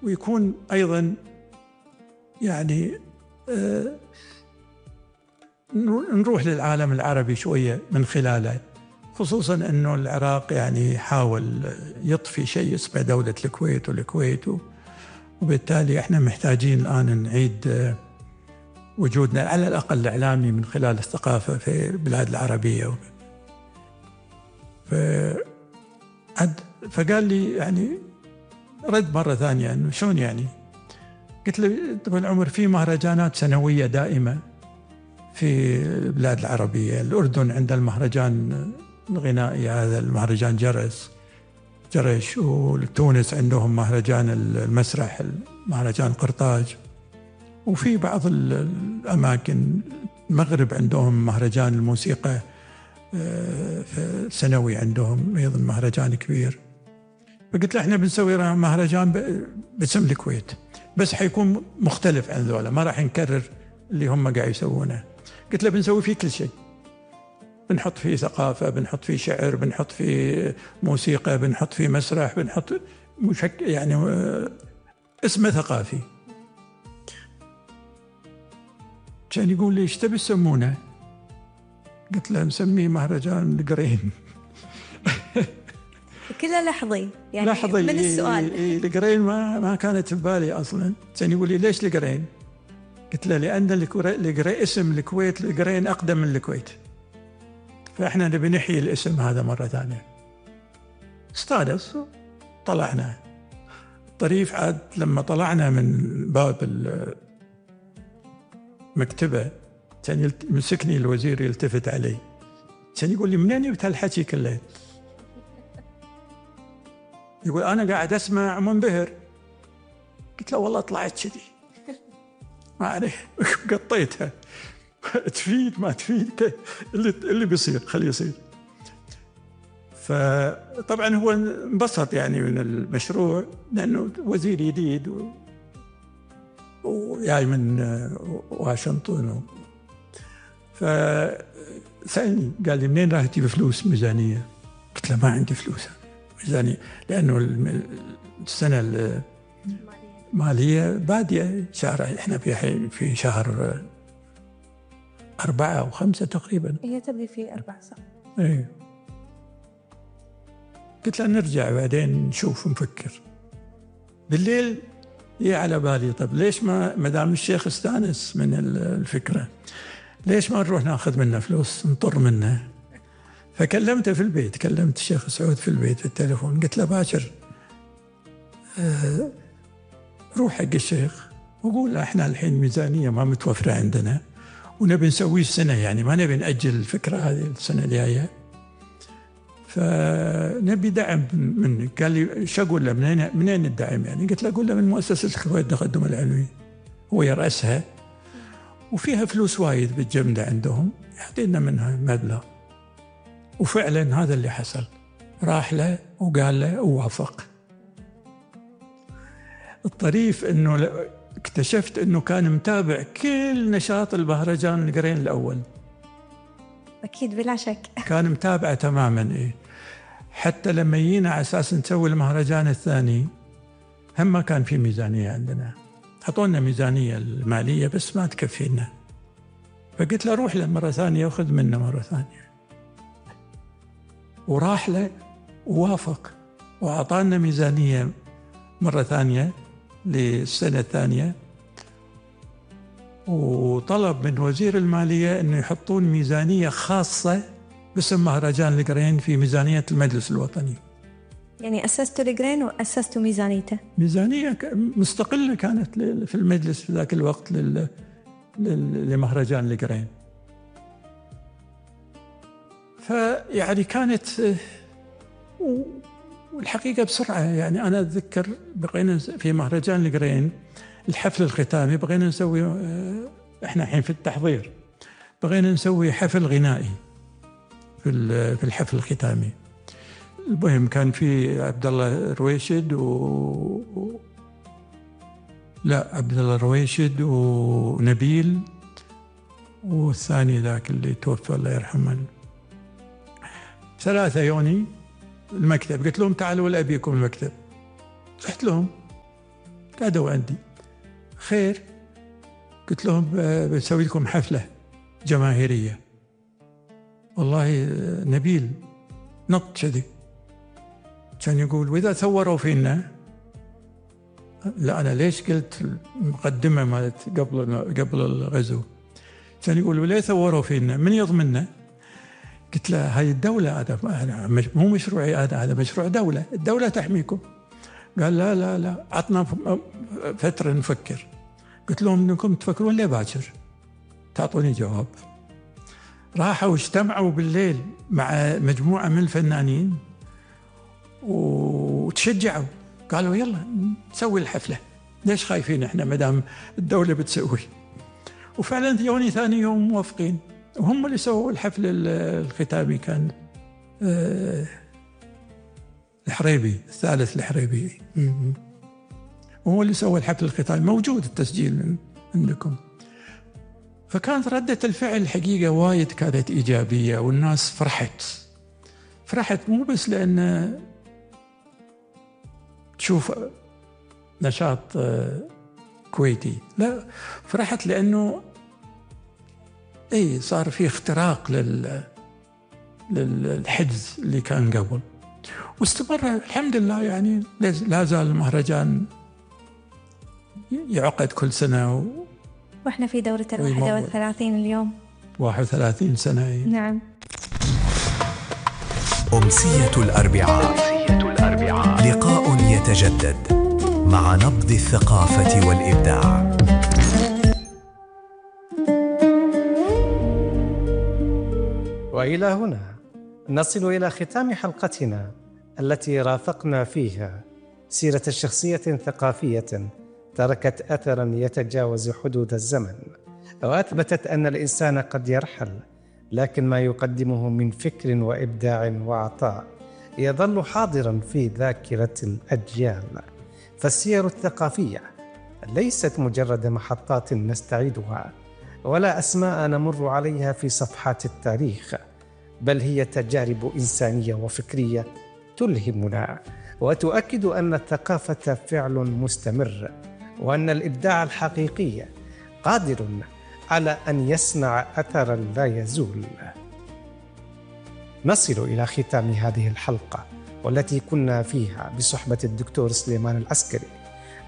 ويكون أيضا يعني نروح للعالم العربي شوية من خلاله، خصوصا أنه العراق يعني حاول يطفي شيء اسمه دولة الكويت وبالتالي احنا محتاجين الآن نعيد وجودنا على الأقل الإعلامي من خلال الثقافة في البلاد العربية. فقال لي يعني رد مرة ثانية أنه شلون يعني؟ قلت له طبعا العمر في مهرجانات سنوية دائمة في البلاد العربية. الأردن عند المهرجان الغنائي هذا المهرجان جرش، وتونس عندهم مهرجان المسرح مهرجان قرطاج، وفي بعض الأماكن المغرب عندهم مهرجان الموسيقى سنوي، عندهم أيضا مهرجان كبير. فقلت له احنا بنسوي مهرجان باسم الكويت، بس حيكون مختلف عن ذولا، ما راح نكرر اللي هم قاعد يسوونه. قلت له بنسوي فيه كل شيء، بنحط فيه ثقافة، بنحط فيه شعر، بنحط فيه موسيقى، بنحط فيه مسرح، بنحط يعني اسمه ثقافي. كان يقول لي ايش تبي تسمونه؟ قلت له نسميه مهرجان القرين. كله لحظي يعني لحظي من السؤال. القرين ما كانت ببالي اصلا. كان يقول لي ليش القرين؟ قلت له لان القرين اسم الكويت، القرين اقدم من الكويت، فاحنا نبي نحيي الاسم هذا مره ثانيه. استانس، طلعنا الطريف. عاد لما طلعنا من باب المكتبه كان يمسكني الوزير يلتفت علي، كان يقول لي منين جبت هالحكي كله؟ يقول أنا قاعد أسمع منبهر. قلت له والله طلعت كذي، ما أعرف قطيتها. تفيد ما تفيد اللي بيصير خليه يصير. فطبعا هو انبسط يعني من المشروع لأنه وزير جديد وجاي من واشنطن. فسألني قال لي منين راح تجيب فلوس ميزانية؟ قلت له ما عندي فلوس ميزانية، لأنه السنة المالية بادية شهر، احنا في شهر 4 أو 5 تقريبا. هي تبدي في 4 صح؟ ايه. قلت له نرجع بعدين نشوف نفكر. بالليل هي على بالي طب ليش ما دام الشيخ استانس من الفكرة، ليش ما نروح ناخذ منه فلوس نطر منه؟ فكلمته في البيت، كلمت الشيخ سعود في البيت في التليفون، قلت له باكر روح حق الشيخ وقول له احنا الحين ميزانية ما متوفرة عندنا ونبي نسويه السنة، يعني ما نبي نأجل الفكرة هذه السنة الجاية، فنبي دعم منك. قال لي شو أقول له منين الدعم يعني؟ قلت له أقول له من مؤسسة الكويت التقدم العلمي، هو يرأسها وفيها فلوس وايد بالجملة عندهم، يعطينا منها مبلغ. وفعلا هذا اللي حصل، راح له وقال له ووافق. الطريف انه اكتشفت انه كان متابع كل نشاط المهرجان القرين الاول. اكيد بلا شك كان متابعه تماما. ايه حتى لما جينا على اساس نسوي المهرجان الثاني هم ما كان في ميزانيه عندنا، حطونا ميزانيه الماليه بس ما تكفينا. فقلت له روح له مره ثانيه وخذ منه مره ثانيه. وراح له ووافق واعطانا ميزانيه مره ثانيه للسنه الثانيه، وطلب من وزير الماليه انه يحطون ميزانيه خاصه باسم مهرجان القرين في ميزانيه المجلس الوطني. يعني اسستوا القرين واسستوا ميزانيته؟ ميزانيه مستقله كانت في المجلس في ذاك الوقت لمهرجان القرين. فيعني كانت، والحقيقة بسرعة يعني أنا أتذكر بقينا في مهرجان القرين الحفل الختامي بقينا نسوي، إحنا الحين في التحضير، بقينا نسوي حفل غنائي في الحفل الختامي. المهم كان في عبد الله رويشد عبد الله رويشد ونبيل والثاني ذاك اللي توفى الله يرحمه، 3 يوني المكتب. قلت لهم تعالوا أبيكم المكتب. رحت لهم قعدوا عندي. خير، قلت لهم بنسوي لكم حفلة جماهيرية. والله نبيل نط كذي كان يقول وإذا ثوروا فينا. لا أنا ليش قلت المقدمة مالت قبل الغزو، كان يقول وليه ثوروا فينا، من يضمننا؟ قلت له هاي الدولة، هذا مو مشروعي، هذا مشروع دولة، الدولة تحميكم. قال لا لا لا، عطنا فترة نفكر. قلت لهم انكم تفكرون ليه باكر؟ تعطوني جواب. راحوا واجتمعوا بالليل مع مجموعة من الفنانين وتشجعوا، قالوا يلا نسوي الحفلة، ليش خايفين احنا مدام الدولة بتسوي. وفعلا يوني ثاني يوم موافقين، وهم اللي سووا الحفل الختامي. كان الحريبي الثالث الحريبي وهو اللي سوى الحفل الختامي، موجود التسجيل عندكم. فكانت ردة الفعل الحقيقة وايد كانت إيجابية، والناس فرحت مو بس لأن تشوف نشاط كويتي، لا، فرحت لأنه صار في اختراق للحجز اللي كان قبل، واستمر الحمد لله. يعني لا زال المهرجان يعقد كل سنة وإحنا في دورة 31 اليوم. 31 سنة. نعم. أمسية الأربعاء، لقاء يتجدد مع نبض الثقافة والإبداع. وإلى هنا نصل إلى ختام حلقتنا التي رافقنا فيها سيرة شخصية ثقافية تركت أثراً يتجاوز حدود الزمن، وأثبتت أن الإنسان قد يرحل، لكن ما يقدمه من فكر وإبداع وعطاء يظل حاضراً في ذاكرة الأجيال. فالسير الثقافية ليست مجرد محطات نستعيدها ولا أسماء نمر عليها في صفحات التاريخ، بل هي تجارب إنسانية وفكرية تلهمنا وتؤكد أن الثقافة فعل مستمر، وأن الإبداع الحقيقي قادر على أن يصنع أثراً لا يزول. نصل إلى ختام هذه الحلقة، والتي كنا فيها بصحبة الدكتور سليمان العسكري،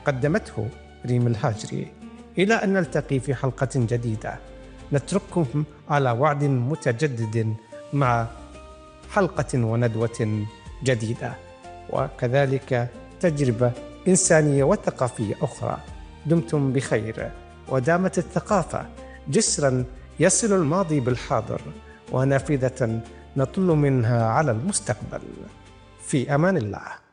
قدمته ريم الهاجري. إلى أن نلتقي في حلقة جديدة، نترككم على وعد متجدد مع حلقة وندوة جديدة، وكذلك تجربة إنسانية وثقافية أخرى. دمتم بخير، ودامت الثقافة جسراً يصل الماضي بالحاضر، ونافذة نطل منها على المستقبل. في أمان الله.